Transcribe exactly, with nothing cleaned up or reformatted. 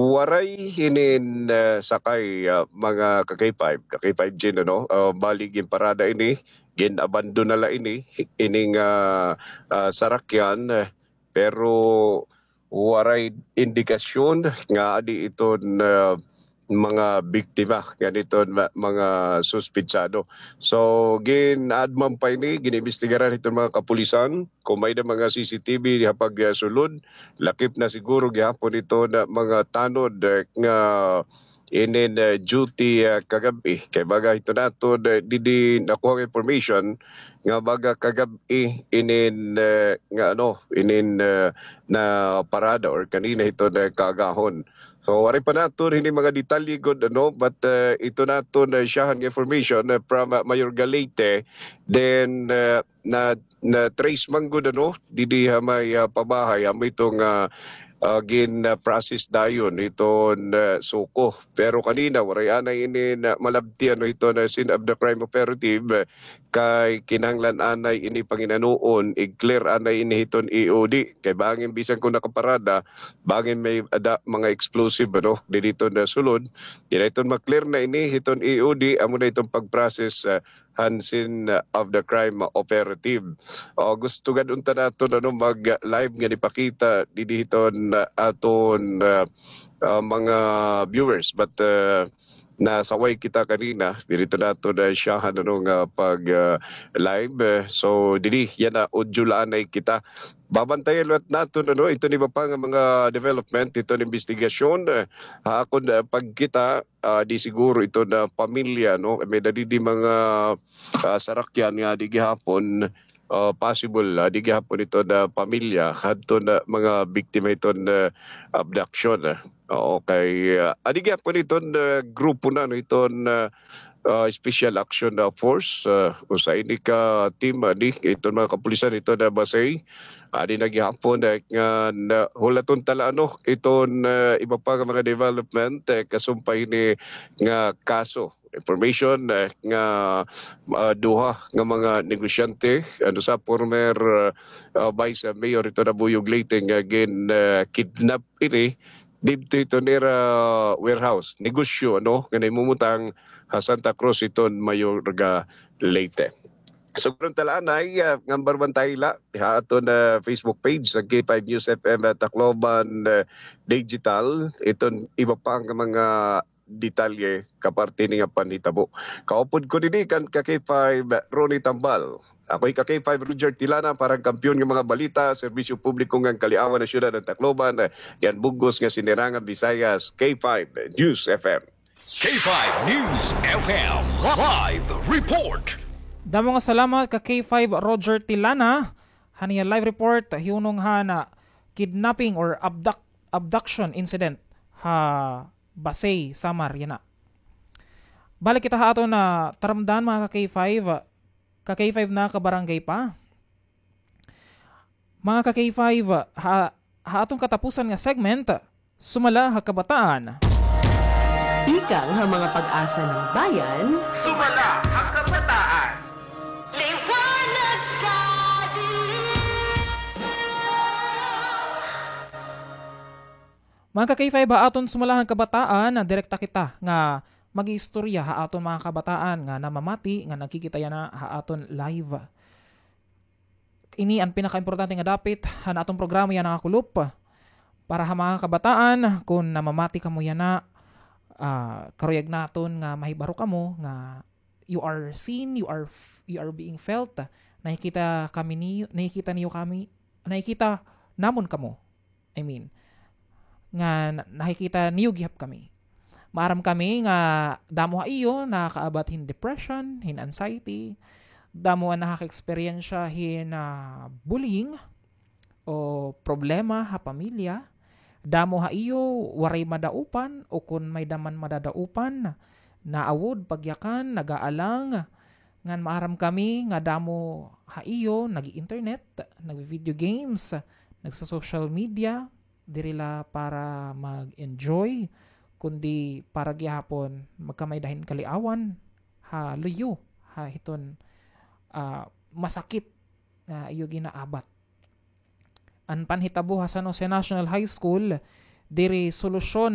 Waray hinin, ah, sakay, ah, mga ka-K five, ka-K five Jean, ano? Ah, bali ginparada ini, gin-abandon na la ini, ining, ah, ah, sarakyan, eh, pero waray indikasyon nga adi iton, ah, mga biktima, ngan iton ma-, mga suspitsado. So, gin-aadman pa ini, gin-imbestigaran hiton mga kapulisan, kon may-ada mga C C T V ha pag, ah, sulod, lakip na siguro gihapon iton mga tanod, eh, nga inin, eh, duty, ah, kagab-i. Kay baga hiton aton, eh, didi nakuha nga information nga baga kagab-i inin, eh, nga ano, inin, eh, naparada or kanina hiton, eh, kaagahon. So, waray pa naton hini mga detalye gud, ano, but, eh, iton aton, eh, syahan nga information, eh, from, ah, Mayor Galete, then, eh, na, na-trace man gud, ano, didi ha may, ah, pabahay, amo iton, ah, ah, gin, ah, process dayon hiton, ah, SOCO. Pero kanina, waray anay ini na malabti, ano, hiton scene of the crime operative, eh, kay kinahanglan anay ini pangin-anon, i-clear anay ini hiton E O D. Kay bangin bisan kon nakaparada, bangin may-ada mga explosive, ano, didi hiton sulod. Diri iton ma-clear na ini hiton E O D, amo na iton pag-process, ah, han scene, ah, of the crime operative. O, gusto gad unta naton, ano, mag-live ngan ipakita didi hiton, ah, aton, ah, ah, mga viewers. But, ah, nasaway kita kanina, diri iton aton, ah, syahan, ano, nga pag, ah, live. Eh, so, didi, yana, audio la anay kita. Babantayan liwat naton, ano, iton iba pa nga mga development, iton imbestigasyon, eh, ha akon, ah, pagkita, ah, di siguro iton pamilya, no? May-ada didi mga, ah, sarakyan nga adi gihapon, ah, possible, ah, adi gihapon iton pamilya hadton mga biktima hiton abduction, ah. Okay, ah, adi gihapon iton grupo na, no, iton, ah, ah, Special Action, ah, Force, ah, usa ini ka team, ah, adi, iton mga kapulisan hiton Basey. Adi na gihapon, eh, nga na, hulaton ta la, ano, iton, eh, iba pa nga mga development, eh, kasumpay hini nga kaso. Information, eh, nga, ah, duha nga mga negosyante, ano, sa former, ah, ah, Vice Mayor hiton Nabuyog Leyte nga gin, ah, kidnap ini didto hiton ira warehouse, negosyo, ano, nga nahimumutang ha Santa Cruz hiton Mayorga, Leyte. So, karon ta la anay, ah, ngan barbantay la ha aton, ah, Facebook page, an K five News F M, ah, Tacloban, ah, Digital, iton iba pa nga mga detalye kaparte hini nga panhitabo. Kaupod ko dinhi kan ka K five, Ronnie Tambal. Ako hi ka K five, Roger Tilana, para han kampiyon nga mga balita, serbisyo publiko ngan kaliawan han syudad han Tacloban, ah, ngan bug-os nga Sinirangan Visayas, K five News F M. K five News F M live report. Damo nga salamat ka K five Roger Tilana. Han iya live report, hiunong han kidnapping or abduct-, abduction incident ha Basey, Samar, yana. Balik kita ha aton taramdan, mga ka K five, ka K five na ka barangay pa. Mga ka K five, ha, ha aton katapusan nga segment, Sumala ha Kabataan. Ikang ha mga pag-asa ng bayan. Sumala ha Kabataan. Liwanag sa dilim. Mga ka K five, ha aton Sumala ha Kabataan, direkta kita nga mag-iistorya ha aton mga kabataan nga namamati nga nagkikita yana ha aton live. Ini an pinakaimportante nga dapit han aton programa yana nga Kulop. Para ha mga kabataan, kon namamati kamo yana, ah, karuyag naton nga mahibaro kamo nga you are seen, you are f-, you are being felt. Nakikita kami ni-, nakikita niyo kami, nakikita namon kamo. I mean, nga na-, nakikita niyo gihap kami. Maaram kami nga damo ha iyo nakaabat hin depression, hin anxiety, damo an nakaka-eksperyensya hin, ah, bullying o problema ha pamilya, damo ha iyo waray madaupan o kon may-ada man madadaupan, naawod, pagyakan, nag-aalang, ngan maaram kami nga damo ha iyo nag-i-internet, nag-video games, nagso-social media, diri la para mag-enjoy, kundi para gihapon magkamay-ada hin kaliawan ha luyo ha hiton, ah, masakit nga iyo ginaabat. An panhitabo ha San Jose National High School, diri solusyon